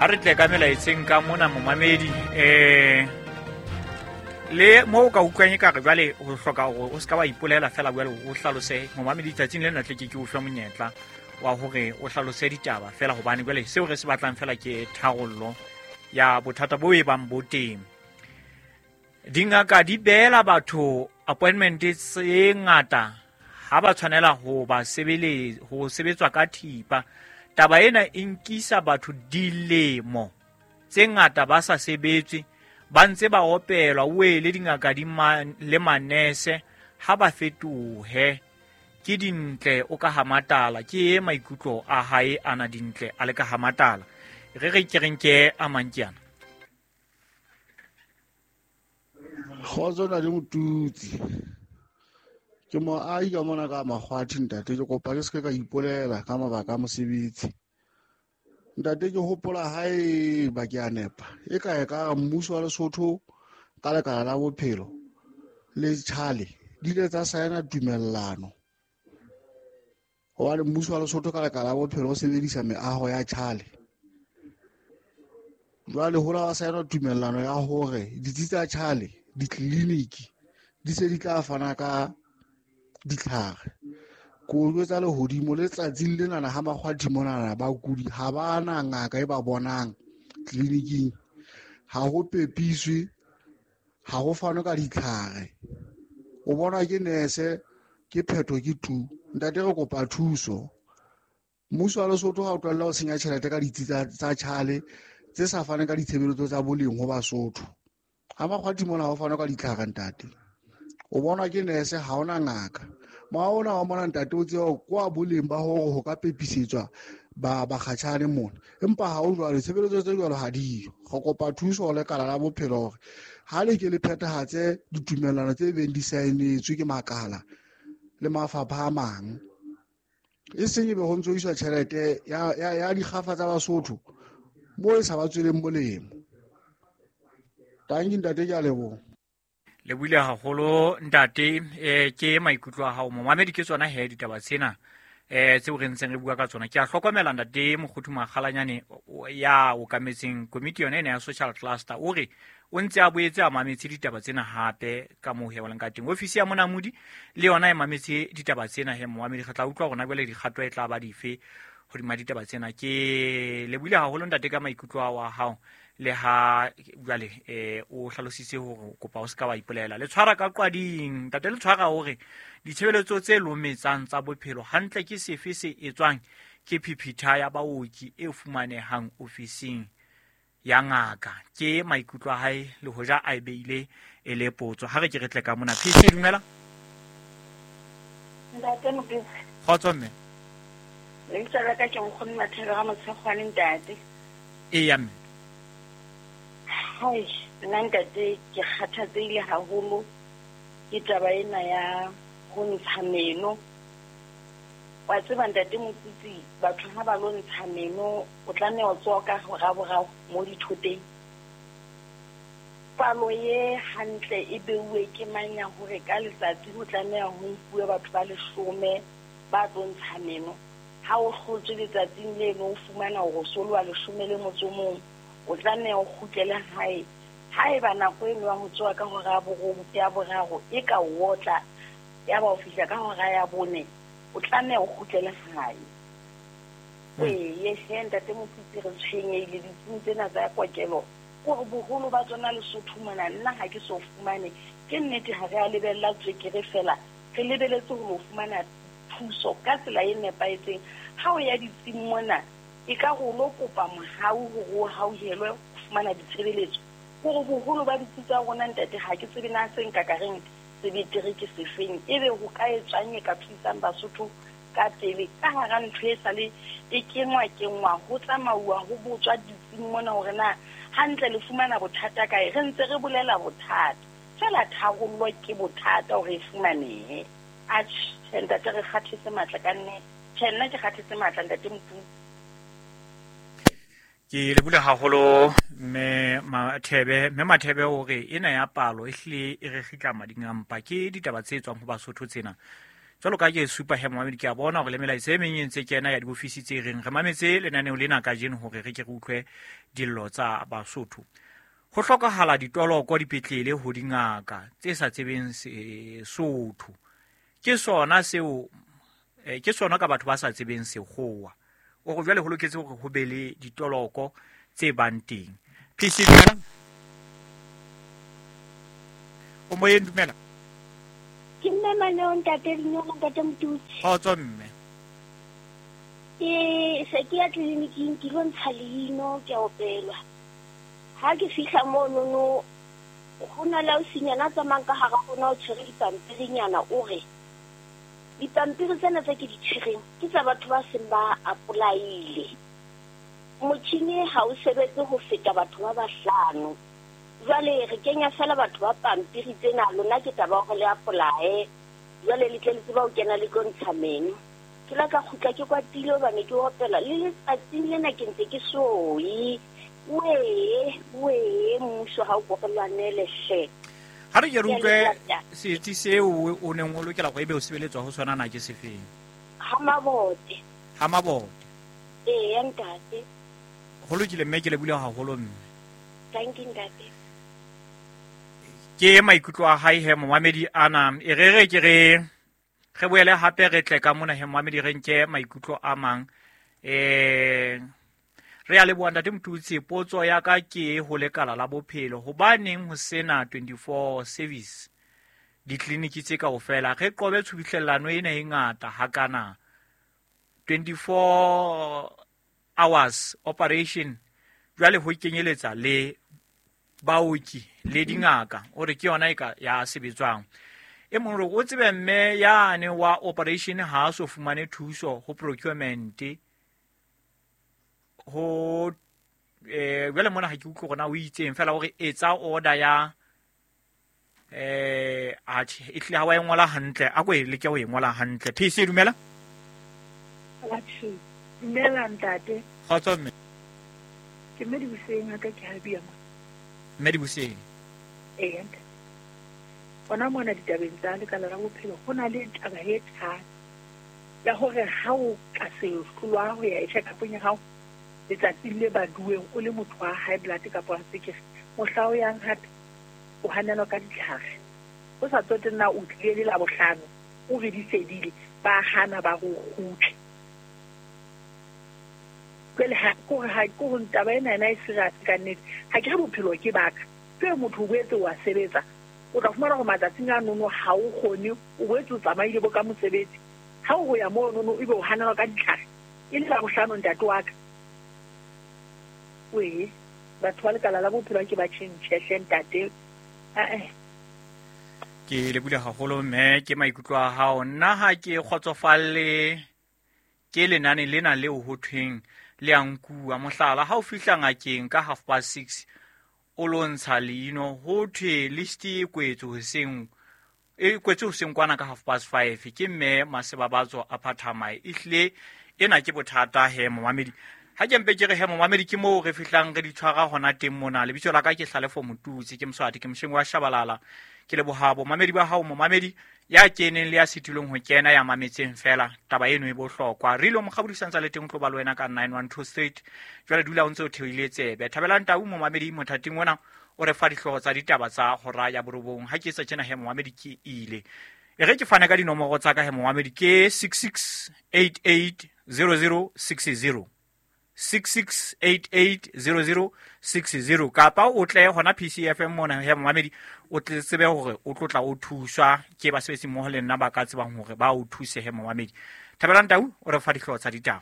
Ha re tle ka melaetseng ka mona momamedi, le mo o ka utlwang e ka re jwale o hloka hore o se ka wa ipolela fela, jwale o hlalose momamedi tsatsing lena tle ke ke o fe monyetla wa hore o hlalose ditaba fela, hobane jwale seo re se batlang fela ke tharollo ya bothata bo e bang bo teng. Dingaka di beela batho appointment tse ngata ha ba tshwanela ho ba ho sebetswa ka thipa. Taba ena e nkisa batho dilemo tse ngata ba sa sebetswe, ba ntse ba opelwa wele dingaka di le manese ha ba fetohe. Ke Dintle o ka Hamatala, ke e maikutlo a hae ana Dintle a le ka Hamatala. Re re ke reng ke a mang ke ana. Kgotso na le Motutsi. Ke moahi ka mona ka Makgwathi ntate, ke kopa ke se ke ka ipolela ka mabaka a mosebetsi. Ntate ke hopola hae ba ke a nepa. E ka e ka mmuso wa Lesotho ka lekala la bophelo le tjhale di ile tsa saena tumellano. Hobane mmuso wa Lesotho ka lekala la bophelo o sebedisa meaho ya tjhale. Jwale ho la wa saena tumellano ya hore ditsi tsa tjhale, ditleliniki di se di tla fana ka ditlhare. Ko jwetsa lehodimo le tsatsing lenana ha Makgwathi monana bakudi ha ba na ngaka e ba bonang tleliniking, ha ho pepiswe, ha ho fanwe ka ditlhare. O bonwa ke nese, ke phetho ke tu. Ntate re kopa thuso. Mmuso wa Lesotho ha o tlohella ho senya tjhelete ka ditsi tsa tjhale tse sa faneng ka ditshebeletso tsa boleng ho Basotho. Ha Makgwathi mona ha ho fanwe ka ditlhare ntate. O bonwa ke nese, ha hona ngaka. Moya ona wa mona ntate o tseba kwa boleng ba hore ho ka pepisetswa ba bakgatjhane mona, empa ha ho jwalo, tshebeletso tse jwalo ha diyo. Re kopa thuso ho lekala la bophelo hore ha le ke le phethahatse ditumellano tse beng di saenetswe ke makala le mafapha a mang, e seng ebe ho ntso iswa tjhelete ya dikgafa tsa Basotho moo e sa ba tsweleng molemo. Tanki ntate, ke a leboha. Le buile haholo ntate, ke maikutlo a hao momamedi, ke tsona he ditaba tsena tseo re ntseng re bua ka tsona. Ke a hlokomela ntate Mokgothu Makgalanyane ya okametseng komiti yona ena ya social cluster, o re o ntse a boetse a mametse ditaba tsena hape ka moo he o leng ka teng. Ofisi ya Monamodi le yona e mametse ditaba tsena he momamedi, re tla utlwa rona jwale dikgato e tla ba dife hodima ditaba tsena. Ke le buile haholo ntate ka maikutlo ao a hao, le ha jwale o hlalositse hore o kopa o se ka wa ipolela. Le tshwara ka qwading ntate, le tshwara hore ditshebeletso tse lometsang tsa bophelo hantle ke sefe se etswang ke phiphitha ya baoki e fumanehang ofising ya ngaka. Ke maikutlo a hae le hoja a e beile e le potso. Ha re ke re tle ka mona. PC, dumela. Ntate Motutsi. Kgotso mme. Lebitso la ka ke Nkgono Mathebe ga Motshekgwane ntate. Eya mme. Hai, nna ntate ke kgathatsehile haholo ke taba ena ya ho ntsha meno. Wa tseba ntate Motutsi, batho ha ba lo ntsha meno o tlameha ho tsoha ka hora boraro mo dithoteng. Palo e hantle e beuwe ke mang ya hore ka letsatsi ho tlameha ho nkuwe batho ba 10 ba tlo ntsha meno. Ha o hlotswe letsatsing leno o fumana hore o so le wa 11, o tlameha o kgutlele hae. Haeba nako eno ya ho tsoha ka hora ya boraro e ka o otla, ya ba o fihla ka hora ya 4, o tlameha o kgutlele hae. Ee, he ntate Motutsi, re tshwenyehile ditsing tsena tsa kokelo. Kore boholo ba tsona Lesotho mona nna ha ke so fumane. Ke nnete ha re a lebella tswekere fela, re lebeletse ho lo fumana thuso ka tsela e nepahetseng. Ha o ya ditsing mona, e ka re o lo kopa mohau hore o hauhelwe ho fumana ditshebeletso. Kore boholo ba ditsi tsa rona ntate ha ke tsebe na se nka ka reng se betere ke sefeng, ebe ho ka etswang e ka thusang Basotho ka pele ka hara ntho e sale e kengwa kengwa ho tsamauwa ho botswa ditsing mona hore na hantle le fumana bothata kae. Re ntse re bolela bothata fela, tharollo ke bothata hore e fumanehe. Atjhe ntate, re kgathetse matla ka nnete. Tjhe, nna ke kgathetse matla ntate Motutsi. Ke lebule haholo mme Mathebe. Mme Mathebe o re ena ya palo e hlile e re kgitla mading a mpa. Ke ditaba tse tswang ho Basotho tsena. Jwalo ka ke supa he momamedi, ke a bona hore le melaetsa e meng e ntse kena ya diofisi tse reng re mametse lenaneo lena kajeno hore re ke re utlwe dillo tsa Basotho. Ho hlokahala ditoloko dipetlele ho dingaka tse sa tsebeng Sesotho. Ke sona seo ke sona ka batho ba sa tsebeng sekgowa. O re jwale ho loketse hore ho be le ditoloko tse bang teng. PC, dumela. O moyeng, dumela. Ke mme Maneo, ntate Dinolo, ntate Motutsi. Kgotso mme. Ke se ke ya tleliniking, ke lo ntsha leino, ke a opelwa. Ha ke fihla monono, ho na le ausinyana a tsamayang ka hara rona, o tshwere dipampirinyana, o re dipampiri tsena tse ke di tshwereng ke tsa batho ba seng ba apply-ile. Motjhini ha o sebetse ho feta batho ba bahlano. Jwale re kenya fela batho ba pampiri tsena, lona ke taba hore le apply-e. Jwale le tle le tseba ho kena le tlo ntsha meno. Ke la ka kgutla ke kwatile hobane ke opela le letsatsing lena ke ntse ke soe. Wee, wee, mmuso ha o ko re lwanele hle. Ha re ke re utlwe setsi seo o neng o lokela hore ebe o sebeletswa ho sona na ke sefeng? Ha Mabote. Ha Mabote. Eya ntate. Ho lokile mme, ke lebohile haholo mme. Thank you ntate. Ke maikutlo a hae he momamedi ana. E re re ke re re boele hape re tle ka mona he momamedi, re nke maikutlo a mang. Re a leboha ntate Motutsi. Potso ya ka ke ho lekala la bophelo, hobaneng ho sena 24 service ditleliniki tse kaofela? Re qobe tshubuhlellano ena e ngata hakana. 24 hours operation jwale ho kenyeletsa le baoki le dingaka, o re ke yona e ka ya sebetswang. E mong re o tsebe mme yane wa operation ha a so fumane thuso ho procurement ho jwale mona ha ke utlwe hore na o itseng fela, o re etsa order ya atjhe, e hlile ha wa e ngola hantle, a ko e leke ho e ngola hantle. PC, dumela. Atjhe, dumela ntate. Kgotso mme. Ke mme Dibuseng, ha ka ke ha bua mo. Mme Dibuseng. Ee, ntate. Hona mona ditabeng tsa lekala la bophelo ho na le taba e thata ya hore ha o ka se hlolwa ho ya check-upong ya hao letsatsing le baduweng o le motho wa high blood kapa wa tswekere, mohla o yang hape o hanelwa ka ditlhare. Ho sa tsotelle na o tlile le Labohlano o re di fedile, ba hana ba re o kgutle. Jwale ha ke hore ha ke hore taba ena ena e serious ka nnete. Ha ke re bophelo ke baka. Jwale motho o boetse wa sebetsa, o tla fumana hore matsatsing a nono ha o kgone, o boetse o tsamaile bo ka mosebetsi. Ha o ya moo nono ebe o hanelwa ka ditlhare, e le Labohlano ntate wa ka. Wee, batho ba lekala la bophelo ke ba tjhentjhe hle ntate. Ae. Ke lebohile haholo mme, ke maikutlo a hao. Nna ha ke kgotsofalle ke lenane lena leo ho thweng le a nkuwa. Mohlala, ha o fihla ngakeng ka 6:30 o lo ntsha leino, ho thwe list e kwetswe hoseng, e kwetswe hoseng kwana ka 5:30. Ke mme Masebabatso a phathamae. Ehlile ena ke bothata he momamedi. Ha ke mpe ke re he momamedi, ke moo re fihlang re di tshwara hona teng mona. Lebitso la ka ke Hlalefo Motutsi, ke Moswati, ke mosheng wa Shabalala. Ke leboha bomamedi ba hao momamedi ya keneng le ya sitilweng ho kena, ya mametseng fela. Taba eno e bohlokwa. Re ile mokgabodi santsa le teng o tlo ba le wena ka 912 Street. Jwale dula o ntse o theohile tsebe. Thabelang Tau momamedi mothating ona o re fa dihlooho tsa ditaba tsa hora ya borobong. Ha ke etsa tjena he momamedi ke ile. E re ke fane ka dinomoro tsa ka he momamedi, ke 66880060. 66880060, kapa o tle hona PCFM mona he momamedi, o tle tsebe hore o tlo tla o thuswa ke basebetsi mmoho le nna ba ka tsebang hore ba o thuse he momamedi. Thabelang Tau o re fa dihlooho tsa ditaba.